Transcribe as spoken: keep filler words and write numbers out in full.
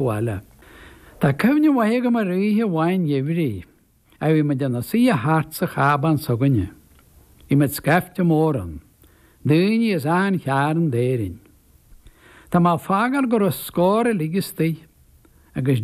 bhaile. Tá cuimhne mhaith agam ar oíche amháin gheimhridh, a bhí muid inár suí thart sa chábán s'againne. Bhí muid scaifte mór ann, daoine as achan chearn d'Éirinn. Tá mé ag fágáil go raibh scór uilig istigh, agus